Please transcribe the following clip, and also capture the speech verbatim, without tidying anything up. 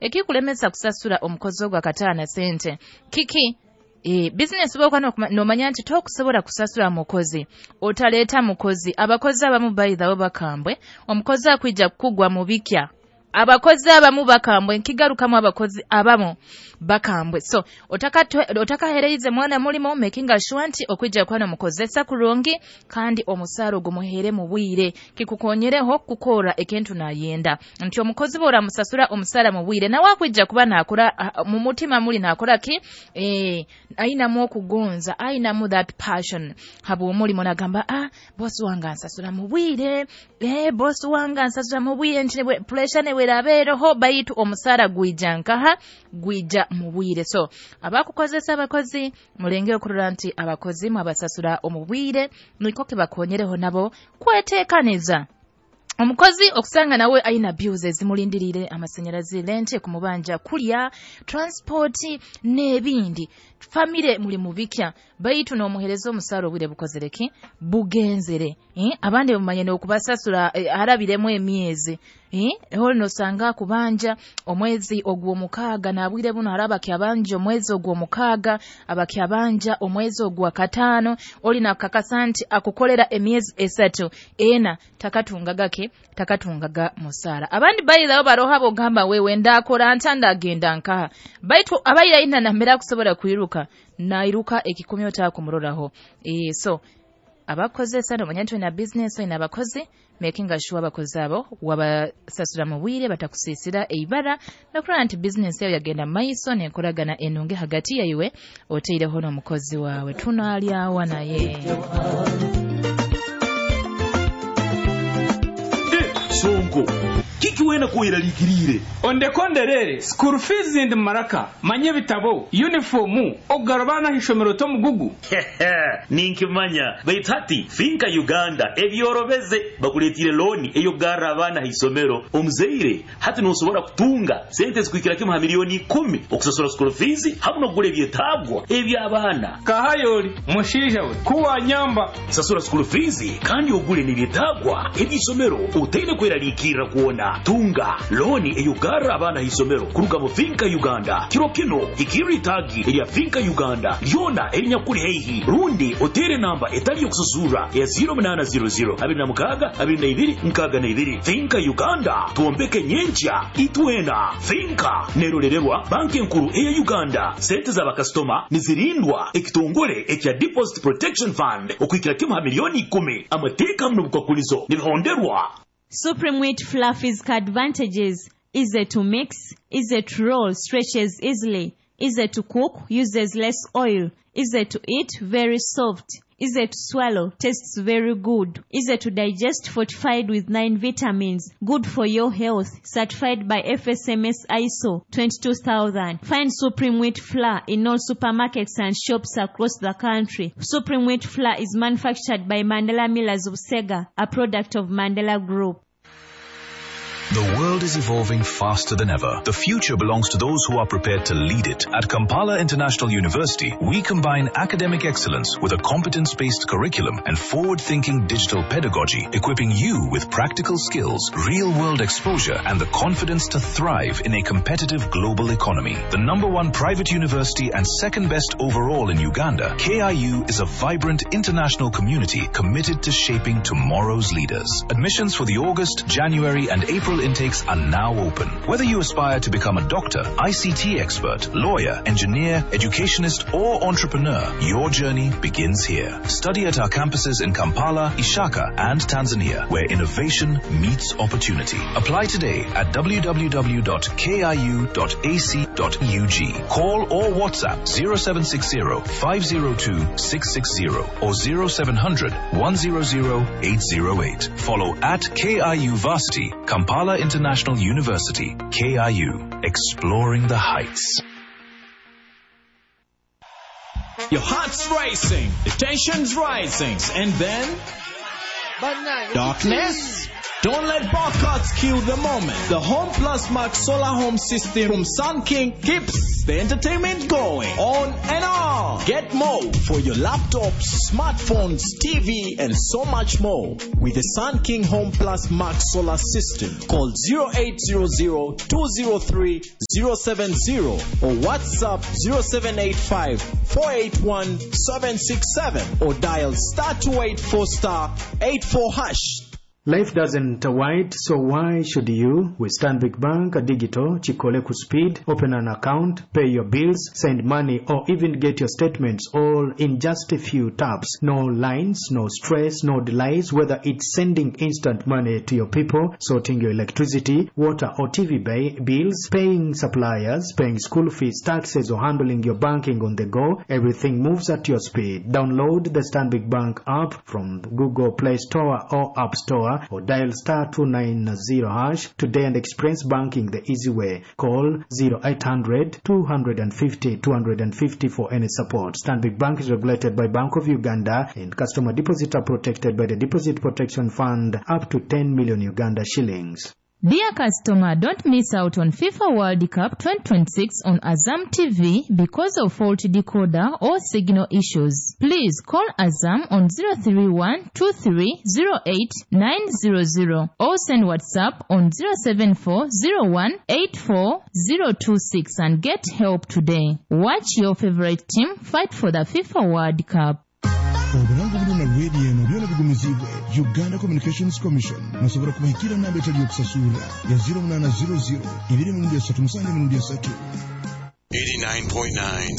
Ekikulemesa kusasura omukozi ogwo akataana sente kiki? E, business bwokuba nomanya nti tokusobola kusasura mukozi, otaleeta mukozi. Abakozi abamu by the way bakambwe, omukozi akwija kukugwa mu bikya. Abakozi abamu bakambwe, nkigarukamu, abakozi abamu bakambwe. So otakahereize mwana mulimo, making sure nti okwija kuba nomukozesa kurungi kandi omusaara ogumuhere mu bwire, kikukonyereho kukora ekintu nayenda. Nti omukozi bw'oramusasura omusaara mu bwire, nawe akwija kuba nakora mu mutima muli nakora ki, eh, ayinamu okugonza, ayinamu that passion habw'omulimo, nagamba, "Ah, bosi wange ansasura mu bwire, eh, bosi wange ansasura mu bwire," nti pressure newe erabeereho, baitu omusaara gwija nkaha, gwija mu bwire. So abakukozesa abakozi, mulenge okurora nti abakozi mwabasasura omu bwire, niko kibakonyereho nabo kweteekaniza. Omukozi okusanga nawe ayina bills ezimulindirire, amasanyalazi, rent kumubanja, kulya, transport n'ebindi, famire muli mubikya, baitu n'omuhereza omusaara obwire bukozereki bugenzere, eh? Abandi bamanye n'okubasasura eh, harabiremu emyezi, eh? Holi nosanga kubanja omwezi ogw'omukaaga, nabwire buno hari abakyabanja omwezi ogw'omukaaga, abakyabanja omwezi ogwa kataano. Oli nakakasa nti akukolera emyezi esatu ena takatungaga ke takatungaga musaara. Abandi bayirawo baroha bogamba, "Wewe ndakora nta, ndagenda nkaha?" Baitu abaira ina namera kusobola kwiruka, nairuka ekikumi otakumuroraho. E, so abakozesa, nomanya nti olina business, olina abakozi, making sure abakozi abo wabasasura mu bwire, batakusiisira eibara, nokulaba nti business yawe yagenda mu maiso n'enkolagana enungi hagati yaiwe oteireho n'omukozi waawe. Tunaalyawa naye. Sonko, kiki wena kuweralikirire? Ondekonderere school fees ndi maraka manye bitabo, uniform, ogarabana hishomero tomugugu. Ninkimanya, baitu hati Finka Uganda ebyorobeze, bakuletire looni eyokugarra abaana haisomero. Omuzaire hati nosobora kutunga sente zikuhikira kimu ha miliyoni ikumi okusasura school fees hamu n'okugura ebyetaagwa eby'abaana. Kahayoli mushiija we kuwanyamba. Sasura school fees kandi ogule n'ebyetaagwa eby'isomero otaine kweraliikirra kwona. Tunga looni eyokugarra abaana haisomero kuruga mu Finka Uganda. Kiro kino hikirra itaagi erya Finka Uganda lyona erinyakuli haihi, rundi otere namba etali yokususura ya zero munaana zero zero abiri na mukaaga abiri na ibiri nkaaga na ibiri. Finka Uganda, twombeke nyenkya itwena. Finka nerolererwa Banki Enkuru eya Uganda. Sente z'abakasitoma nizirindwa ekitongole ekya Deposit Protection Fund okuhikira kimu ha miliyoni ikumi. Amateeka hamu n'obukwakulizo nibihonderwa. Supreme Wheat Fluffy's advantages: easy to mix, easy to roll, stretches easily, easy to cook, uses less oil, easy to eat, very soft, easy to swallow, tastes very good, easy to digest, fortified with nine vitamins, good for your health, certified by F S M S I S O twenty-two thousand. Find Supreme Wheat Flour in all supermarkets and shops across the country. Supreme Wheat Flour is manufactured by Mandela Millers of Sega, a product of Mandela Group. The world is evolving faster than ever. The future belongs to those who are prepared to lead it. At Kampala International University, we combine academic excellence with a competence-based curriculum and forward-thinking digital pedagogy, equipping you with practical skills, real-world exposure, and the confidence to thrive in a competitive global economy. The number one private university and second best overall in Uganda, K I U is a vibrant international community committed to shaping tomorrow's leaders. Admissions for the August, January, and April intakes are now open. Whether you aspire to become a doctor, I C T expert, lawyer, engineer, educationist, or entrepreneur, your journey begins here. Study at our campuses in Kampala, Ishaka, and Tanzania, where innovation meets opportunity. Apply today at w w w dot k i u dot a c dot u g. Call or WhatsApp zero seven six zero five zero two six six zero or zero seven hundred one zero zero eight zero eight. Follow at K I U Varsity, Kampala International University. K I U, exploring the heights. Your heart's racing, the tension's rising, and then darkness Don't let power cuts kill the moment. The Home Plus Max Solar Home System from Sun King keeps the entertainment going on and on. Get more for your laptops, smartphones, T V, and so much more with the Sun King Home Plus Max Solar System. Call zero eight zero zero, two zero three, zero seven zero or WhatsApp zero seven eight five, four eight one, seven six seven or dial star two eight four star eight four hash. Life doesn't wait, so why should you? With Stanbic Bank Digital, Chikole Speed, open an account, pay your bills, send money, or even get your statements all in just a few taps. No lines, no stress, no delays, whether it's sending instant money to your people, sorting your electricity, water or T V bills, paying suppliers, paying school fees, taxes, or handling your banking on the go, everything moves at your speed. Download the Stanbic Bank app from Google Play Store or App Store, or dial star two nine zero hash today and experience banking the easy way. Call zero eight hundred, two hundred fifty, two hundred fifty for any support. Stanbic Bank is regulated by Bank of Uganda and customer deposits are protected by the Deposit Protection Fund up to ten million Uganda shillings. Dear customer, don't miss out on FIFA World Cup twenty twenty-six on Azam T V because of faulty decoder or signal issues. Please call Azam on zero three one, two three zero eight, nine zero zero or send WhatsApp on zero seven four, zero one eight four, zero two six and get help today. Watch your favorite team fight for the FIFA World Cup. Obulango bulina radio eno byona bigumizibwe Uganda Communications Commission musobola kubahikira namba etali yokusasula ya zero munana zero zero ibiri mirundi esatu musanju mirundi esatu. eighty-nine point nine.